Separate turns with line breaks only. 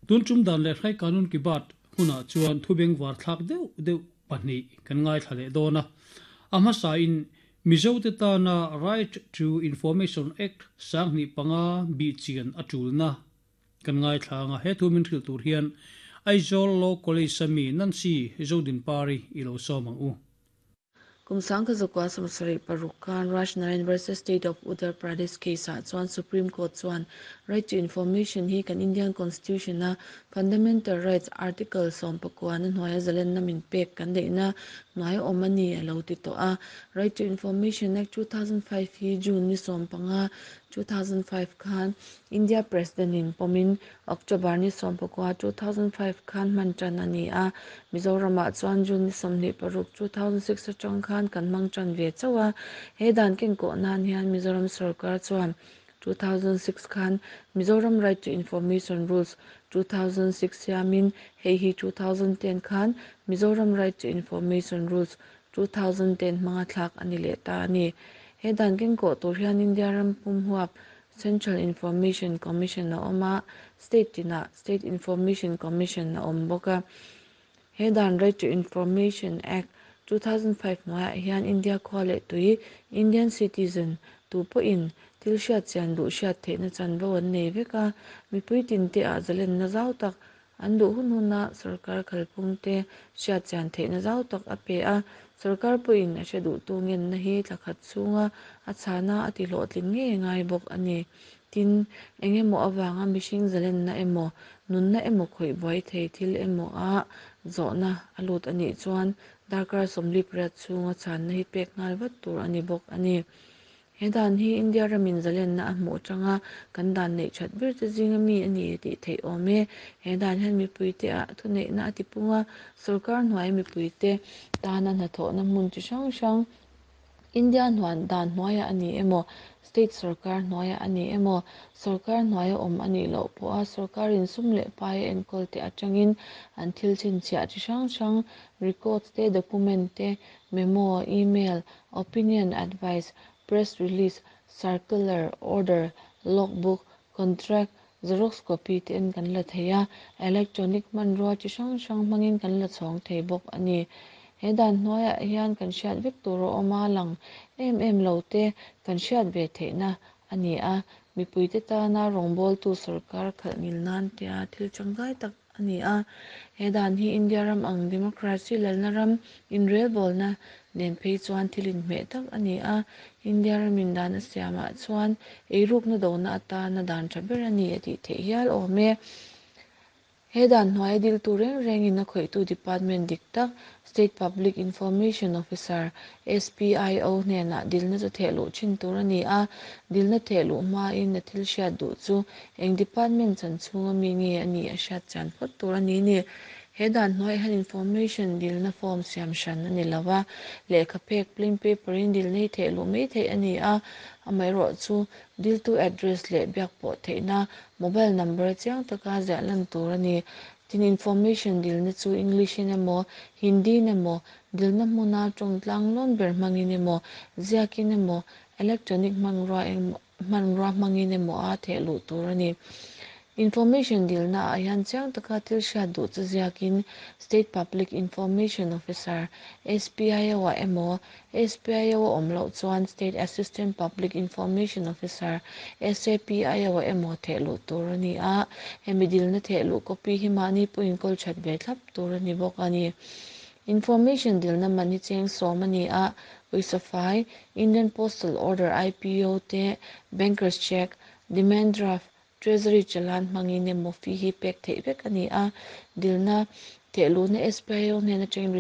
Tun tum dan leh hrai kanun ki bat hunah chuan thu bengvar thlak deuh deuh pahnih kan ngaithla leh dawn a. A hmasa in Mizote tana Right to Information Act 2005 bihchian a tulna kan ngaithla anga he thu min hrilh tur hian Aizawl Law College a mi Nancy Zodinpari i lo sawm ang u.
Kum 1976 khan Raj Narain versus State of Uttar Pradesh case-ah chuan Supreme Court chuan Right to Information hi kan Indian Constitution-a Fundamental Rights Article 19 na hnuaia zalenna min pek kan neihna hnuai awm a ni a lo ti tawh a. Right to Information Act 2005 hi June ni 15, 2005 khan India President in pawmin October ni 14, 2005 khan hman tan a ni a. Mizoramah chuan June ni 26, 2006 atang khan kan hmang tan ve chauh a. He dan kenkawh nan hian Mizoram sarkar chuan 2006 khan Mizoram Right to Information Rules 2006 siamin hei hi 2010 khan Mizoram Right to Information Rules 2010 hmanga thlak a ni leh ta a ni. He dan kenkawh tur hian India ram pum huap Central Information Commission a awm a, state tinah State Information Commission a awm bawk a. He dan Right to Information Act 2005 hnuaiah hian India khua leh tui Indian citizen tu pawhin thil hriat chian duh hriat theihna chanvo an nei vek a. Mipui tin te ah zalenna zau tak an duh hun huna sarkar khalphung te hriat chian theihna zau tak a pe a. Sarkar pawhin a hre duh tu ngenna hi thlakhat chhunga a chhana a ti hlawhtling ngei ngai bawk a ni. Tin, engemaw awanga mihring zalenna emaw nunna emaw khawih buai thei thil emaw a zawhna a lut anih chuan darkar 48 chhunga chhanna hi pek nghal vat tur a ni bawk a ni. He dan hi India ramin zalenna a hmuh atanga kan dan neih that ber te zinga mi a ni tih theih awm e. He dan hian mipui te ah thuneihna a tipung a, sarkar hnuai mipui te tana hnathawhna hmun chi hrang hrang India hnuan dan hnuaiah a ni emaw, state sarkar hnuaiah a ni emaw, sarkar hnuaia awm a nih loh pawha sarkarin sum leh pai a enkawl te atangin an thil chhinchhiah chi hrang hrang records te, document te, memo, email, opinion, advice, press release, circular, order, logbook, contract, xerox copy te en kan la thei a, electronic hmanrua chi hrang hrang hmangin kan la chhawng thei bawk a ni. He dan hnuaiah hian kan hriat vek tur a awm a lang em em lo te kan hriat ve theihna a ni a. Mipui te tana rawngbawltu sarkar khalh ngil nan tia thil tangkai tak a ni a. He dan hi India ram ang democracy lalna ram inrelbawlna nen phei chuan thil inhmeh tak a ni a. India ramin dan a siamah chuan eirukna dona atana dan tha ber a ni a tih theih hial awm e. He dan hnuaia dil tur reng rengin a khawihtu department dik tak State Public Information Officer SPIO hnenah dilna chu thehluh thin tur a ni a. Dilna thehluh hmain a thil hriat duh chu eng department chan chhunga mi nge a ni a hriat chian phawt tur a ni ni. He dan hnuaiah hian information dilna form siam hran a ni lova, lehkha phek plain paper in dilna hi thehluh mai theih a ni a. Amaherawh chu diltu address leh biak pawh theihna mobile number chiang taka ziah lan tur a ni. Tin, information dilna chu English in emaw, Hindi in emaw, dilna hmuna tawng tlang lawn ber hmangin emaw, ziakin emaw, electronic hmanrua hmanrua hmangin emaw a thehluh tur a ni. Information dilna ah hian chiang taka thil hriat duh chu ziakin State Public Information Officer SPIO ah emaw, SPIO a awm loh chuan State Assistant Public Information Officer SAPIO ah emaw thehluh tur a ni a. Hemi dilna thehluh copy hi mahni pawhin kawl that ve thlap tur a ni bawk a ni. Information dilna man hi cheng 10 a ni a. Pawisa fai, Indian Postal Order IPO te, Banker's Check, Demand Draft, Treasury challan hmangin emaw fee hi pek theih vek a ni a. Dilna thehluhna SPIO hnen atangin.